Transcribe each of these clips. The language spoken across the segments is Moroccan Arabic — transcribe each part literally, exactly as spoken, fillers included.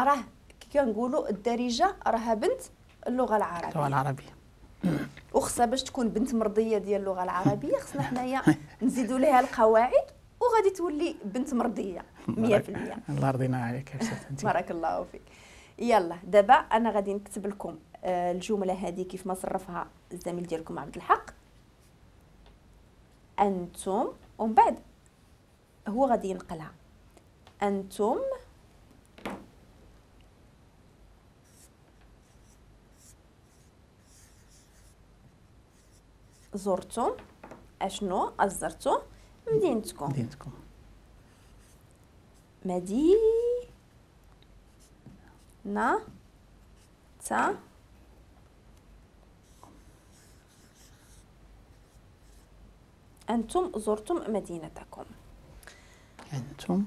راه كنقولوا الدارجة راها بنت اللغة العربية. اللغة العربية وخصها باش تكون بنت مرضية ديال اللغة العربية خصنا حنايا نزيدوا لها القواعد وغادي تولي بنت مرضية مية بالمية. الله يرضينا عليك يا استاذ. بارك الله فيك. يلا دابا انا غادي نكتب لكم الجملة هذه كيف ما صرفها الزميل ديالكم عبد الحق. انتم، ومن بعد هو غادي ينقلها. انتم زرتم اشنو؟ زرتم مدينتكم. مدينتكم. مدينة تا أنتم زرتم مدينتكم. أنتم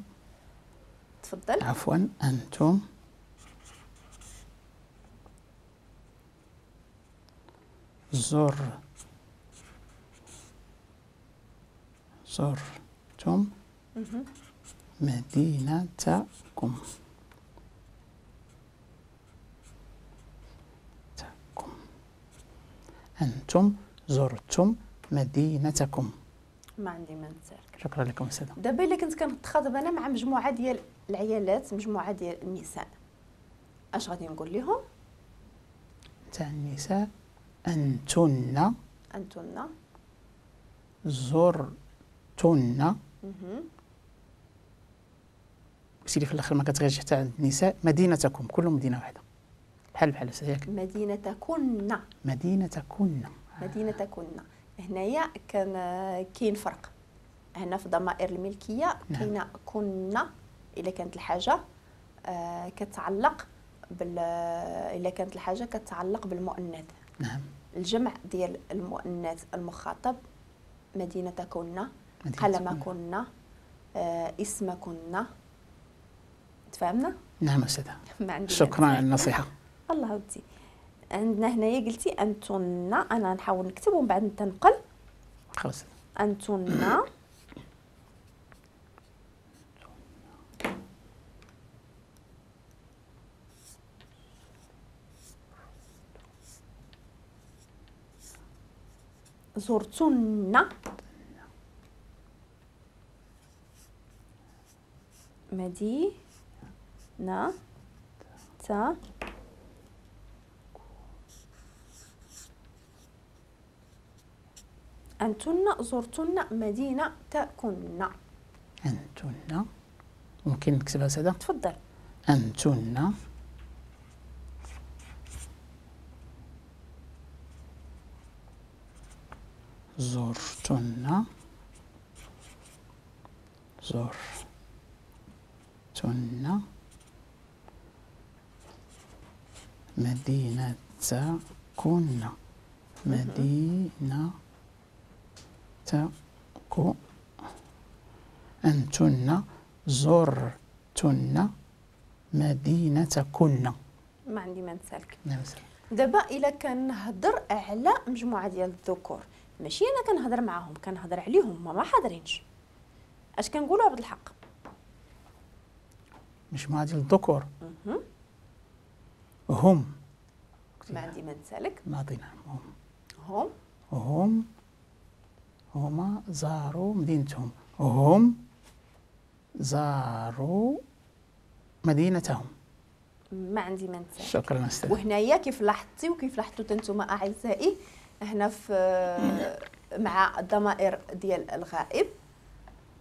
تفضل. عفوا، أنتم زر زرتم مدينتكم. تكم. أنتم زرتم مدينتكم. ما عندي ما نتسالك. شكرا لكم أستاذة. دابا إلا كنت كنتخاطب أنا مع مجموعة ديال العيالات، مجموعة ديال النساء، أش غادي نقول لهم؟ تاع النساء أنتن. أنتن زرتن. قلتي لي في الاخر ما كتغيرش حتى عند النساء. مدينتكم، كل مدينة واحدة بحال بحال ياك. مدينتكن. مدينتكن. مدينتكن. هنايا كان كاين فرق هنا في ضمائر الملكية. نعم. كاينه كنا الا كانت الحاجة آه كتعلق بال الا كانت الحاجة كتعلق بالمؤنث. نعم. الجمع ديال المؤنث المخاطب مدينتكن، قلمكن، آه اسمكن. تفهمنا؟ نعم أستاذة. شكرا على النصيحة. الله ودي. عندنا هنايا قلتي أنتن، أنا نحاول نكتب ومن بعد نتنقل. خلاص. أنتن زرتن مدينة تا أنتن زرتن مدينتكن. أنتن ممكن نكتبها سادة؟ تفضل. أنتن زرتن زرتن مدينتكن. مدينة تكو أنتن زرتن مدينتكن. ما عندي ما نسالك. دابا إلا كنهضر على مجموعة ديال الذكور، ماشي أنا كنهضر معاهم، كنهضر عليهم ما ما حاضرينش. اش كنقولوا عبد الحق؟ مجموعة ديال الذكور هم. ما عندي ما نسالك. نعطينا هم. هم هم هما زاروا مدينتهم. هم زاروا مدينتهم. ما عندي ما نسالك. شكرا أستاذ. وهنايا كيف لاحظتي وكيف لاحظتوا انتم اعزائي هنا في مع الضمائر ديال الغائب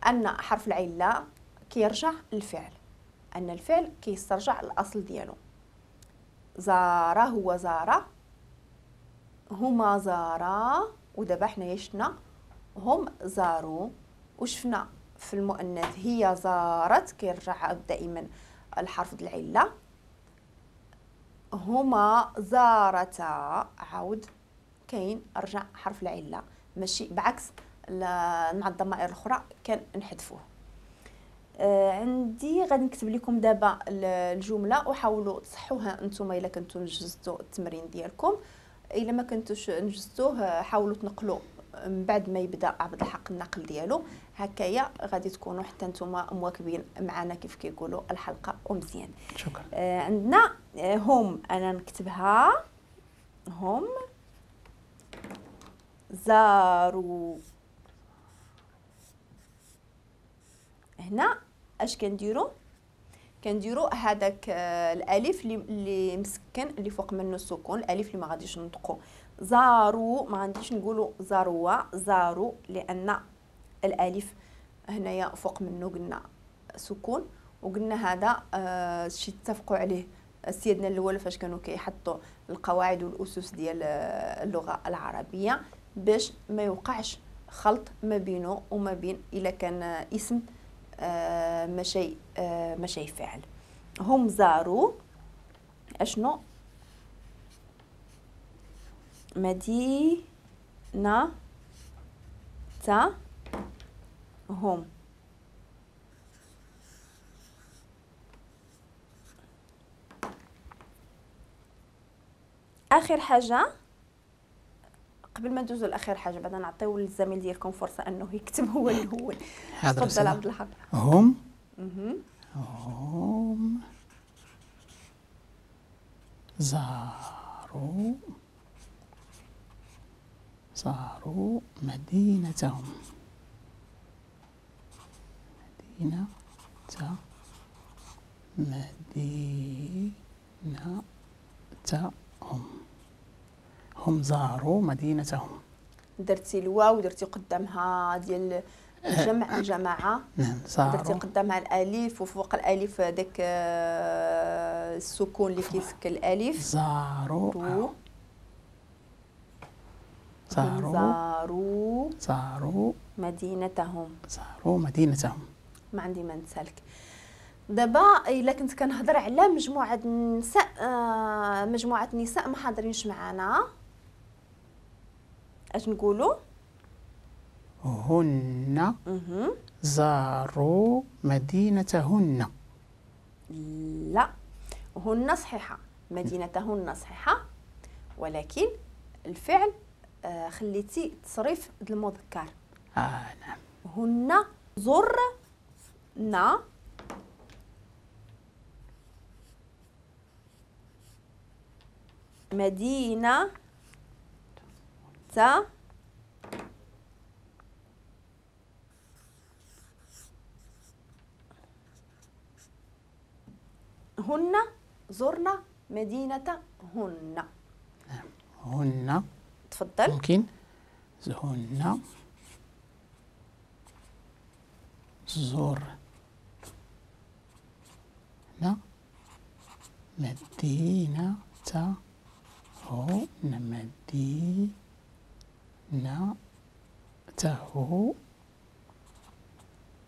ان حرف العلة كيرجع للفعل، ان الفعل كيسترجع الاصل ديالو. زار هو زار، هما زارا، ودابا حنايا شفنا هم زاروا، وشفنا في المؤنث هي زارت كيرجع دائما الحرف ديال العلة. هما زارتا عاود كاين رجع حرف العلة، ماشي بعكس مع الضمائر الاخرى كان نحذفوه. آه عندي غادي نكتب لكم دابا الجملة وحاولوا تصحوها انتم الا كنتو نجزتوا التمرين ديالكم، الا ما كنتوش نجزتوه حاولوا تنقلوا من بعد ما يبدا عبد الحق النقل ديالو. هكايا غادي تكونوا حتى نتوما مواكبين معنا كيف كيقولوا الحلقة ومزيان. شكرا. آه عندنا هم، انا نكتبها هم زاروا. هنا اش كنديروا؟ كنديروا هذاك الالف اللي مسكن اللي فوق منه السكون، الالف اللي ما غاديش ننطقوا. زاروا ما غاديش نقولوا زاروا، زاروا، لان الالف هنايا فوق منه قلنا سكون، وقلنا هذا آه شي اتفقوا عليه سيدنا الاول فاش كانوا كيحطوا القواعد والاسس ديال اللغة العربية باش ما يوقعش خلط ما بينه وما بين الا كان اسم آه ماشي آه ماشي فعل. هم زاروا اشنو؟ مدينة تا هم. اخر حاجة قبل ما ندوزو لاخر حاجة بعدا نعطيو للزميل ديالكم فرصة انه يكتب هو الاول. تفضل عبد الحق. هم هم زاروا زاروا مدينتهم، مدينة مدينتهم، هم زاروا مدينتهم. درتي الواو درتي قدامها ديال الجمع الجماعة. نعم زاروا، درتي قدامها الالف وفوق الالف داك السكون اللي كيسكن الالف. زاروا زاروا زاروا زاروا مدينتهم، زاروا مدينتهم. ما عندي ما نسالك. دابا الا كنت كنهضر على مجموعة النساء، آه مجموعة النساء ما حاضرينش معنا، اش نقولوا؟ هن زاروا مدينتهن. لا، هن صحيحه، مدينتهن صحيحه، ولكن الفعل آه خليتي تصريف المذكر. اه نعم. هن زرنا مدينة تا هن زرنا مدينة هن. هن تفضل. ممكن هن زور نا مدينة هن مدينة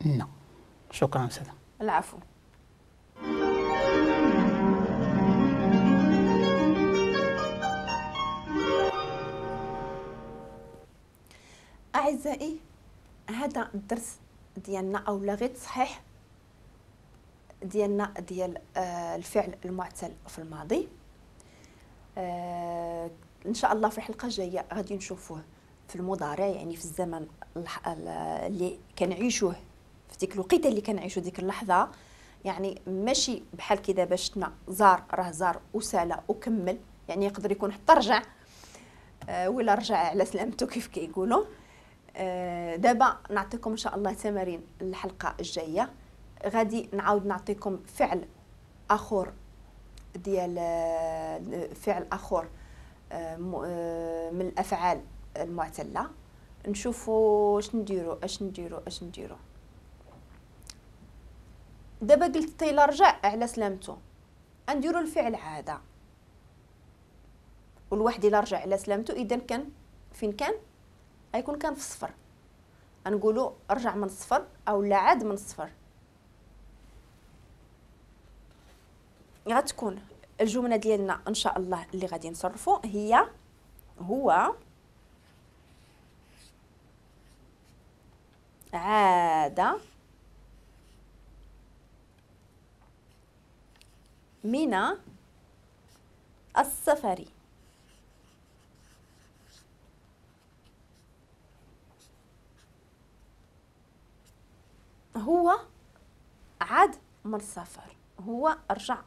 هن. شكرا أستاذة. العفو. أعزائي هذا الدرس ديالنا أو لا غير تصحيح ديالنا ديال الفعل المعتل في الماضي. آه ان شاء الله في الحلقة الجاية غادي نشوفوه في المضارع، يعني في الزمن اللي كنعيشوه في ديك الوقيته اللي كنعيشو ديك اللحظة، يعني ماشي بحال كي دابا شفنا زار راه زار وسالا وكمل، يعني يقدر يكون حتى رجع آه ولا رجع على سلامته كيف كيقولوا. آه دابا نعطيكم ان شاء الله تمارين الحلقة الجاية، غادي نعاود نعطيكم فعل اخر ديال فعل اخر من الافعال المعتله، نشوفوا اش نديروا اش نديروا اش نديروا. دابا قلت تيلا رجع على سلامته، نديروا الفعل عادة، والواحد الا رجع على سلامته اذا كان فين كان غيكون كان في الصفر، نقولوا رجع من الصفر او لا عاد من الصفر. غتكون الجملة ديالنا ان شاء الله اللي غادي نصرفو هي هو عاد من السفر. هو عاد من السفر، هو رجع.